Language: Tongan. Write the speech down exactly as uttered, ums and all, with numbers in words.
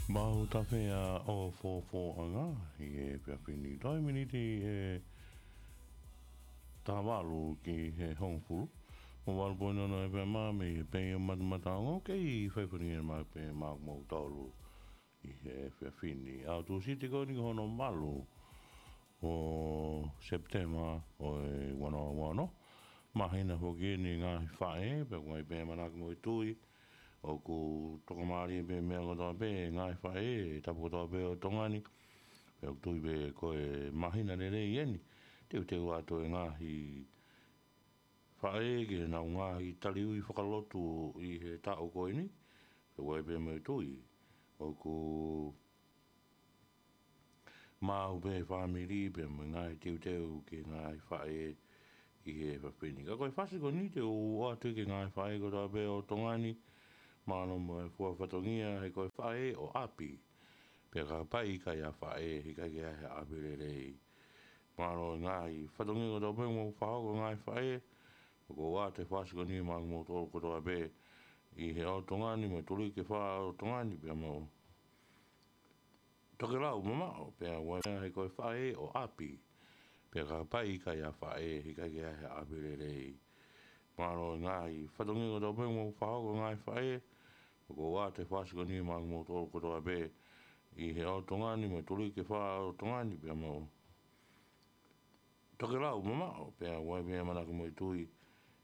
Mau tafea ʻo fōfōʻanga ʻi he efiafi ni. Toe miniti ʻe taha valu ki he hongofulu. Mo valu poini ono FM mei he pei ʻo Matamata Ongo, kei fai fani e ma pe ma mo tolu ʻi he efiafi ni. ʻAho Tūsite ko eni ko hono valu ʻo Sepitema ʻo e ua noa ua ono. Māhina foki eni ngaahi faʻē, pea ʻoku ʻi ai pē ʻamanaki mo e tui ʻoku tokamālie pē meʻa kotoa pē, ngaahi faʻē, tapu kotoa pē ʻo Tonga ni. Pea ʻoku tui pē ko e māhina lelei eni. Teuteu atu e ngaahi faʻē ke nau ngaahi taliui fakalotu ʻi he taʻu ko eni. Pea ʻoku ʻi ai pē mo e tui ʻoku maʻu pē fāmili pea mo e ngaahi teuteu ki he ngaahi faʻē ʻi he efiafi ni. Ka ko e fasi ko eni te u ʻoatu ki he ngaahi faʻē kotoa pē ʻo Tonga ni, mālō mo e fua fatongia, he ko e faʻē ʻo ʻapi. Pea kapau ʻe ʻikai ha faʻē, he ʻikai ke ʻi ai ha ʻapi lelei. Mālō e ngaahi fatongia kotoa pē mo e fakahoko e ngaahi faʻē, ʻoku ou ʻoatu e fasi ko eni maʻa kimoutolu kotoa pē ʻi he ʻo Tonga ni, mo e tuliki fā ʻo Tonga ni, pea mo tokelau mamaʻo, pea ʻoku ʻi ai he ko e faʻē ʻo ʻapi. Pea kapau ʻe ʻikai ha faʻē, he ʻikai ke ʻi ai ha ʻapi lelei. Mālō e ngaahi fatongia kotoa pē mo e fakahoko e ngaahi faʻē, ʻoku ou ʻoatu e fasi ko eni maʻa kimoutolu kotoa pē ʻi he ʻo Tonga ni, mo e tuliki fā ʻo Tonga ni, pea mo tokelau mamaʻo, pea ʻoku ʻi ai pē ʻamanaki mo e tui